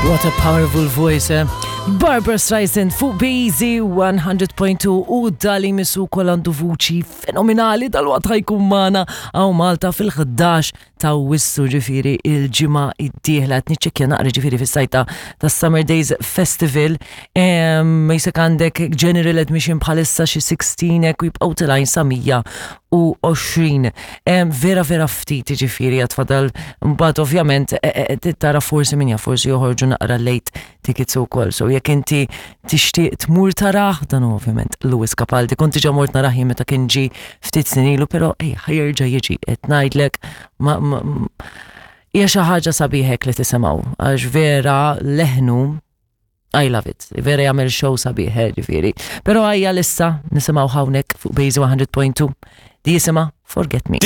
What a powerful voice, eh? Barbara Streisand fuq Bazy 100.2 u dali misu kol għandu vuċi fenomenali dal-waqt ħajkun magħna hawn Malta fil-11 ta' Awwissu ġifieri il-ġimgħa id-dieħla qed niċċekkja naqra ġifieri fis-sajta tas-Summer Days Festival. Jisek għandek general admission bħalissa xi 16 hekk u jibqgħu tilgħin sa 120. Vera vera ftit ġifieri għad fadal mbagħad ovvjament e, e, e, tara forsi min jaf forsi joħorġu naqra late tickets ukoll. So jekk inti tixtieq tmur tarah, dan hu ovvjament Lewis Capaldi. Kont diġà mort narah jien meta kien ġi ftit snin ilu, però ej ħajerġa' jiġi qed ngħidlek ma hija xi ħaġa sabiħek li tisimgħu għax vera leħnu I love it. Vera jagħmel show sabiħ, eh, ġifieri. Però għajja lissa nisimgħu hawnhekk fuq Base 100.2 di jisimha Forget Me.